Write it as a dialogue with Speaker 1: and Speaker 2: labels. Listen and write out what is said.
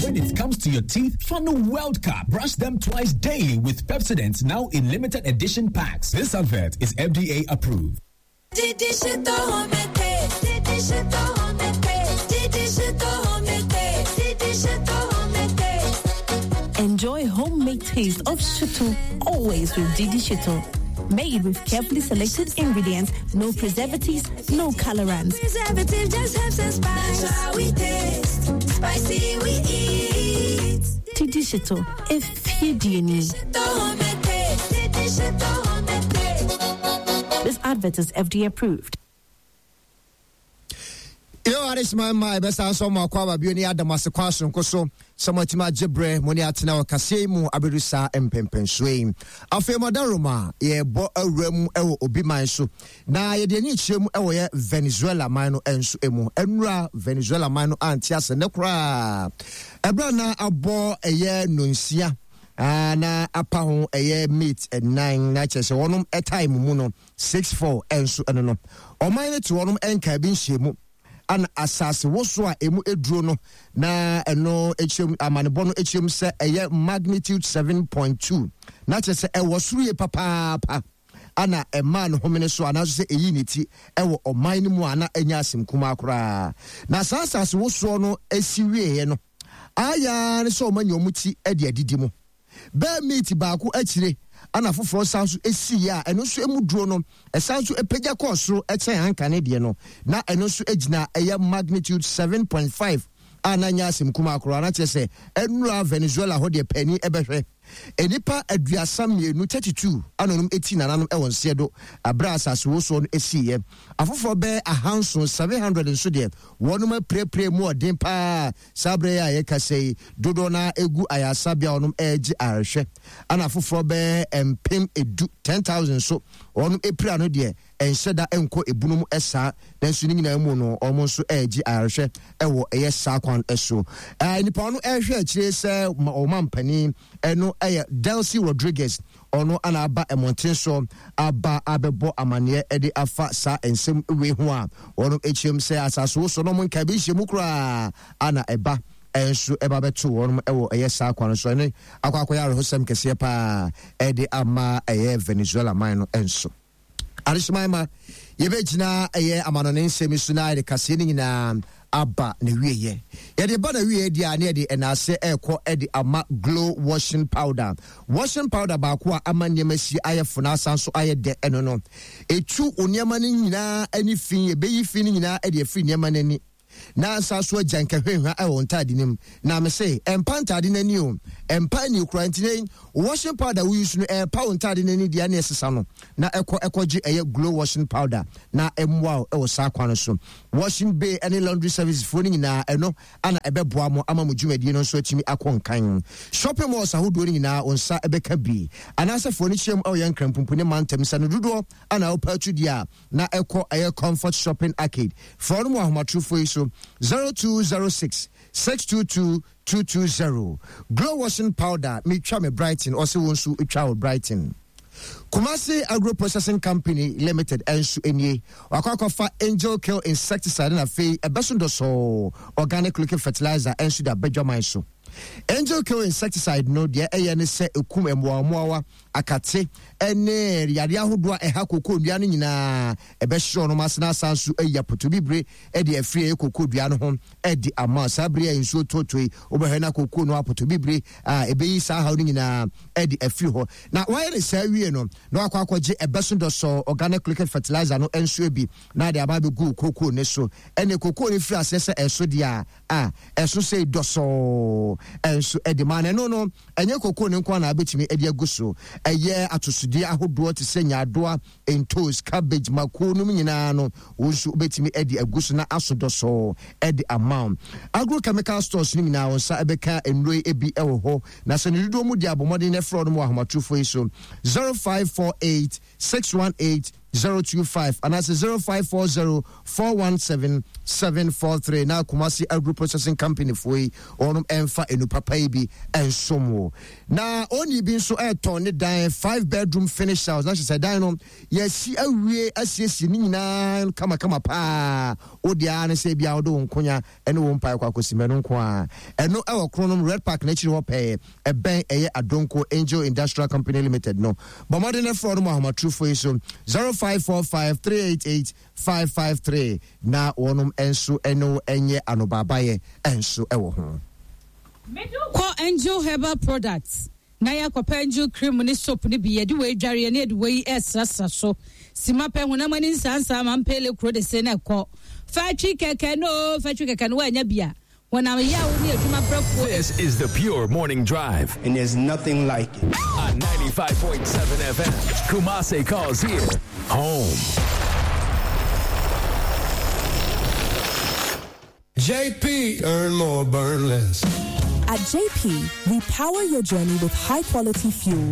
Speaker 1: When it comes to your teeth, Funnel World Cup. Brush them twice daily with Pepsodent now in limited edition packs. This advert is FDA approved.
Speaker 2: Enjoy homemade taste of Shito always with Didi Shito. Made with carefully selected ingredients, no preservatives, no colorants.
Speaker 3: Preservative just helps us spice. we taste, spicy we eat.
Speaker 2: Didi Shito, if you This advert is FDA approved.
Speaker 4: Yo, adesima mma ɛbɛsan so ɔmo akɔ aba bio ne adam ase kwan soronko so sɛ mo atumi agye berɛ mo ne atena wɔ kaseɛ yi mu abɛdu saa mpɛmpɛnsoɔ yi. Afei mo adaroma yɛbɔ awura mu wɔ obi man so na yɛde ani kyerɛ mu wɔ yɛ Venezuela man no nso mu. Ɛnura Venezuela man no ante ase ne koraa ɛberɛ na abɔ ɛyɛ nonsia na apa ho ɛyɛ mate nnan na kyerɛ sɛ wɔnom time mu no 6-4 nso ɛno no ɔman no te wɔnom nkaa bi nhyiamu ana asase woso a emu eduro no na ɛno ekyirem amanebɔ no ekyirem sɛ ɛyɛ magnitude 7.2 na kyerɛ sɛ ɛwɔ soro yie papaapa ana ɛmaa no homene so anaasɛ sɛ eyi ne ti ɛwɔ ɔman no mu a na ɛnyɛ asɛm kumaa koraa na saa asase wosoɔ no esi wieɛ no ayɛ ne sɛ ɔma nya wɔn ti de adidi mu. Bɛɛ meeti baako akyire ana foforɔ san so siiɛ a ɛno nso emu duro no ɛsan so pagya kɔɔ soro kyɛn ankane deɛ no, na ɛno nso gyina ɛyɛ magnitude 7.5 a na nyɛ asɛm kumaa koraa, na kyerɛ sɛ ɛnura Venezuela hɔ deɛ paani ɛbɛhwɛ. Nnipa 32, 32, ana ɔnom eti nananom ɛwɔ nseɛ do aberɛ a asase wosoɔ no esiiɛ. Afoforɔ bɛɛ ahanson, 700, nso deɛ wɔnom apirapira mu ɔden paa. Saa berɛ yi a yɛkasa yi, dodoɔ no ara gu ayaresabea a wɔnom regye ayarehwɛ, ɛna afoforɔ bɛyɛ 10,000, 10,000, nso wɔnom apira no deɛ ɛnhyɛ da nkɔ ebunu mu saa, nanso ne nyinaa mu no wɔn nso regye ayarehwɛ wɔ ɛyɛ saa kwan so. Ɛɛ nipa ɔno ɛrehwɛ akyire sɛ ɔmampanin ɛno ɛyɛ Delcy Rodriguez. Ɔno na aba mmɔnten so aba abɛbɔ amaneɛ de afa saa nsɛm wei ho a wɔnom kyerɛm sɛ asase wosoɔ no ɔmo nkae bi nhyɛ mu koraa ana ɛba nso ɛba bɛto wɔnom wɔ ɛyɛ saa kwan so. Ɛne akɔ akɔyɛ awerɛhosɛm kɛseɛ paa ɛde ama ɛyɛ Venezuela man no nso. Adehyeman ma yɛbɛgyina ɛyɛ amanɔne nsɛm yi so na yɛde kaseɛ no nyinaa aba n'awieɛ. Yɛde ba n'awieɛ deɛ a ne yɛde ɛnaase ɛrekɔ ɛde ama Glow Washing Powder. Washing powder baako a ama nneɛma si ayɛ fo na asan so ayɛ dɛ ɛno no. Ɛtu wo nneɛma no nyinaa ani fi, ɛbɛyi fi no nyinaa ɛde afiri nneɛma no ani. Na nsa so agya nka hwahwa wɔ wo ntaade no mu. Na me se, ɛmpa ntaade no ani o, ɛmpa ani koraa. Nti nei, wo washing powder wo use no, ɛrepa wo ntaade no ani deɛ ne ɛsesa no, na ɛkɔ ɛkɔgye ɛyɛ glow washing powder na ɛmmoa wo wɔ saa kwan no so. Washing bay ne laundry services foɔ no nyinaa, ɛno ana ɛbɛboa mo ama mo dwumadie no nso atumi akɔ nkan. Shopping malls ahodoɔ no nyinaa, wo nsa bɛka bi. Anaasɛ foɔ no kyiam wɔ yɛn Nkranpumpu ne mantam sɛ no dodoɔ ana wopɛ atu deɛ a, na ɛkɔ ɛyɛ Comfort Shopping Arcade. Frɛ wɔn wɔ ahomatorofo yi so, 0206 622 220. Glow washing powder, metwa me Brighton, ɔse wo nso twa wo Brighton. Kumasi Agro Processing Company Limited nso nie. Wakɔ akɔfa Angel Kill Insecticide na afei ɛbɛso dɔsɔɔ organic liquid fertilizer nso de abadwaman so. Angel Kill Insecticide no deɛ ɛyɛ ne sɛ ɛkum mmoawammoawa akate ne yareɛ ahodoɔ a ɛha kokoo nnua no nyinaa. Ɛbɛhye wɔn ase na asan nso ayi apotobibire de afiri ɛyɛ kokoo dua no ho de ama. Saa bere a nsuo tɔtɔ yi, wobɛhwɛ na kokoo no apotobibire a ɛbɛyi saa haw no nyinaa de afiri hɔ. Na wayɛ ne saa wie no, na wakɔ akɔgye ɛbɛso dɔsɔɔ organic liquid fertilizer no nso bi na de aba abɛgu kokoo no so. Ɛne kokoo no firi aseɛ sɛ ɛso deɛ a, a ɛso sei dɔsɔɔ nso de ma. Na ɛno no, ɛnyɛ kokoo no nko ara na wobɛtumi de agu so. Ɛyɛ atosodeɛ ahodoɔ te sɛ nyaadoa, ntoos, cabbage, mako nom nyinaa no, wo nso wobɛtumi de agu so na aso dɔsɔɔ de ama wo. Agrochemical stores no nyinaa, wo nsa bɛka nnuro yi bi wɔ hɔ. Na sɛ ne dodoɔ mu deɛ a, bɔ mmɔden na frɛ wɔn wɔ ahomatorofoɔ yi so, 0548 618. 025 anaasɛ 0540 417 743 na Kumasi Agro Processing Company foɔ yi wɔnom ɛmfa enu papa yi bi ɛnsom wo. Na onii bi nso ɛretɔn ne dan 5 bedroom finish house na kyerɛ sɛ dan no yɛasi awie asiesie ne nyinaa kamakama paa. Wo deɛ ara ne sɛ ebia wode wo nkonya ne wo mpae kɔ akɔsi mɛno nko ara. Ɛno ɛwɔ Kronom Red Park n'akyiri hɔ pɛɛ, ɛbɛn ɛyɛ Adonko Angel Industrial Company Limited no. Bɔ mmɔden na frɛ wɔn wɔ ahomatorofo yi so 0545 388 553 na wɔnom nso ne wo nyɛ anobaabayɛ nso wɔ ho.
Speaker 5: Kɔ Angel Herbal Products na yɛakɔpɛ Angel Cream ne soap no bi, yɛde wei dwareɛ ne yɛde wei resrasra so. Sima pɛ honam ani nsansaa ma mpele kuro de se na ɛkɔ. Fatwi kɛkɛ no, fatwi kɛkɛ no woannya bi a, honam yaw ne adwuma brɛfoɔ.
Speaker 6: This is the Pure Morning Drive.
Speaker 7: And there's nothing like it.
Speaker 6: On 95.7 FM, Kumase calls here home.
Speaker 8: JP, earn more, burn less.
Speaker 2: At JP, we power your journey with high quality fuels.